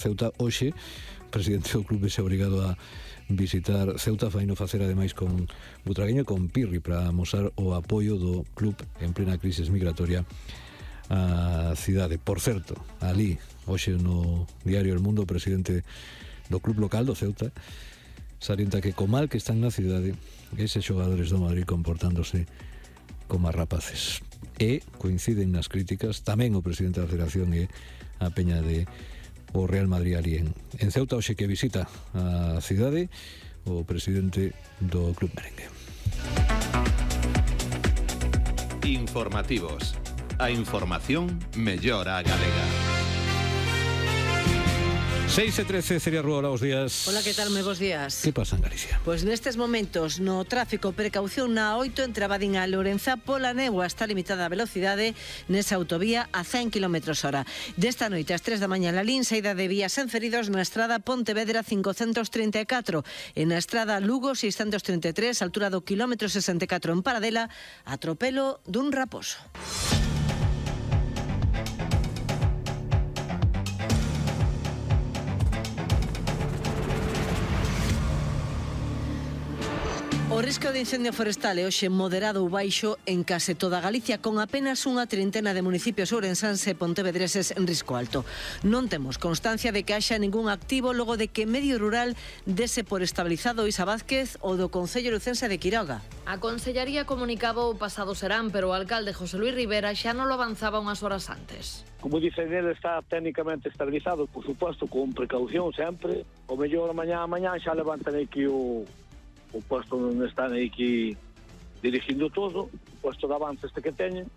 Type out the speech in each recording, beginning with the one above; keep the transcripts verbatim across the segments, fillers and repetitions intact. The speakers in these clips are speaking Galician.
Ceuta hoxe, presidente do clube se obrigado a visitar Ceuta, faino facer ademais con Butragueño e con Pirri para amosar o apoio do club en plena crisis migratoria á cidade. Por certo, ali, hoxe no diario El Mundo, o presidente do club local do Ceuta salienta que co mal que están na cidade eses xogadores do Madrid comportándose como rapaces. E coinciden nas críticas tamén o presidente da Federación e a peña de o Real Madrid ali en, en Ceuta, hoxe que visita a cidade o presidente do Club Merengue. Informativos. A información mellor a galega. seis e trece, Celia Rúa, hola, bos días. Hola, que tal? Moi bos días. Que pasa en Galicia? Pois nestes momentos no tráfico, precaución na oito entre Abadín a Lourenza. Pola néboa está limitada a velocidade nesa autovía a cen kilómetros hora. Desta noite ás tres da mañá na Lin, saída de vías sen feridos na estrada Pontevedra cincocentos trinta e catro e na estrada Lugo seiscentos trinta e tres, altura do kilómetro sesenta e catro en Paradela, atropelo dun raposo. O risco de incendio forestal é hoxe moderado ou baixo en case toda Galicia, con apenas unha trintena de municipios ourensáns e pontevedreses en risco alto. Non temos constancia de que haxa ningún activo logo de que Medio Rural dese por estabilizado Isa Vázquez o do Concello Lucense de Quiroga. A Consellaría comunicaba o pasado serán, pero o alcalde José Luis Rivera xa non lo avanzaba unhas horas antes. Como dicen, ele está técnicamente estabilizado, por suposto, con precaución sempre. O mellor mañá a mañá xa levantan aquí o... o posto onde están aquí dirigindo todo, o posto de avance este que teñen.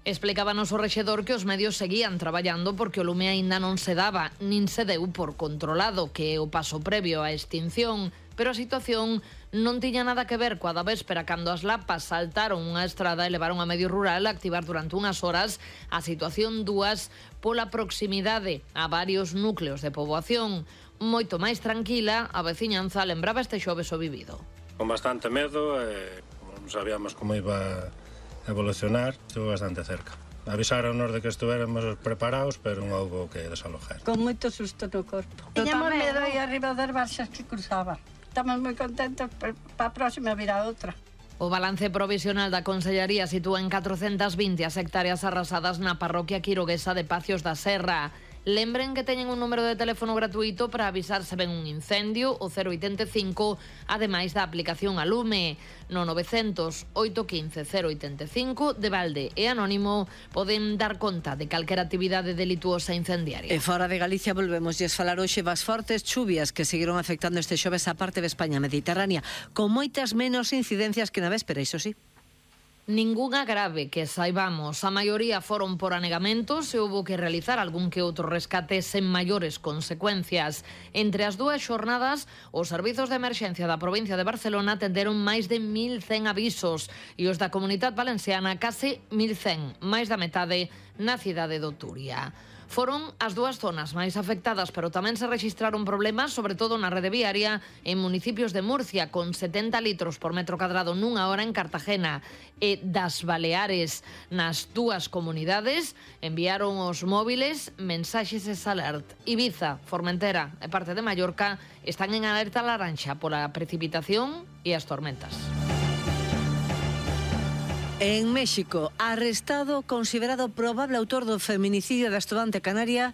Explicábanos o rexedor que os medios seguían traballando porque o lume aínda non se daba, nin se deu por controlado, que é o paso previo á extinción, pero a situación non tiña nada que ver coa da véspera cando as lapas saltaron unha estrada e levaron a Medio Rural a activar durante unhas horas a situación dúas pola proximidade a varios núcleos de poboación. Moito máis tranquila, a veciñanza lembraba este xoves o vivido. Con bastante medo, e non sabíamos como iba a evolucionar, estuvo bastante cerca. Avisaronos de que estuéramos preparados, pero non houbo que desalojar. Con moito susto no corpo. Tiñamos medo aí arriba das baixas que cruzaba. Estamos moi contentos para a próxima vir a outra. O balance provisional da Consellaría sitúa en catrocentas vinte as hectáreas arrasadas na parroquia quiroguesa de Pacios da Serra. Lembren que teñen un número de teléfono gratuito para avisar se ven un incendio, o cero oitenta e cinco, ademais da aplicación a lume. No novecientos, oito quince, cero oitenta e cinco, de balde e anónimo, poden dar conta de calquera actividade delituosa incendiaria. E fora de Galicia volvemos lles falar hoxe das fortes chuvias que seguiron afectando este xoves a parte de España mediterránea, con moitas menos incidencias que na véspera, iso sí. Ningunha grave que saibamos, a maioría foron por anegamentos e houbo que realizar algún que outro rescate sen maiores consecuencias. Entre as dúas xornadas, os servizos de emerxencia da provincia de Barcelona atenderon máis de mil cen avisos e os da Comunidade Valenciana case mil cen, máis da metade na cidade de Turia. Foron as dúas zonas máis afectadas, pero tamén se rexistraron problemas, sobre todo na rede viaria, en municipios de Murcia, con setenta litros por metro cadrado nunha hora en Cartagena, e das Baleares. Nas dúas comunidades enviaron os móviles mensaxes alert. Ibiza, Formentera e parte de Mallorca están en alerta laranxa pola precipitación e as tormentas. En México, arrestado considerado probable autor do feminicidio da estudante canaria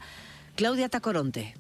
Claudia Tacoronte.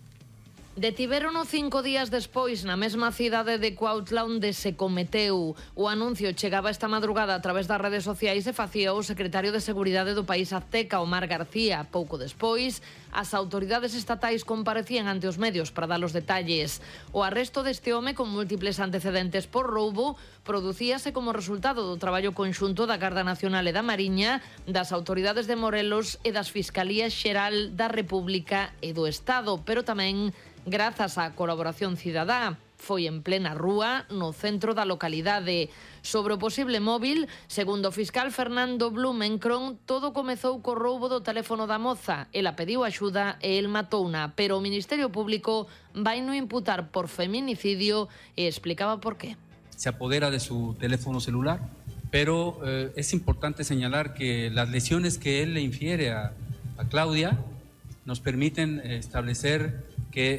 Detivérono cinco días despois na mesma cidade de Cuautla onde se cometeu. O anuncio chegaba esta madrugada a través das redes sociais e facía o secretario de Seguridade do país azteca, Omar García. Pouco despois, as autoridades estatais comparecían ante os medios para dar os detalles. O arresto deste home con múltiples antecedentes por roubo producíase como resultado do traballo conxunto da Garda Nacional e da Mariña, das autoridades de Morelos e das Fiscalías Xeral da República e do Estado, pero tamén grazas á colaboración cidadá. Foi en plena rúa, no centro da localidade. Sobre o posible móvil, segundo o fiscal Fernando Blumenkron, todo comezou co roubo do teléfono da moza. Ela pediu axuda e el matouna, pero o Ministerio Público vai no imputar por feminicidio e explicaba por qué. Se apodera de su teléfono celular, pero eh, es importante señalar que las lesiones que él le infiere a, a Claudia nos permiten establecer que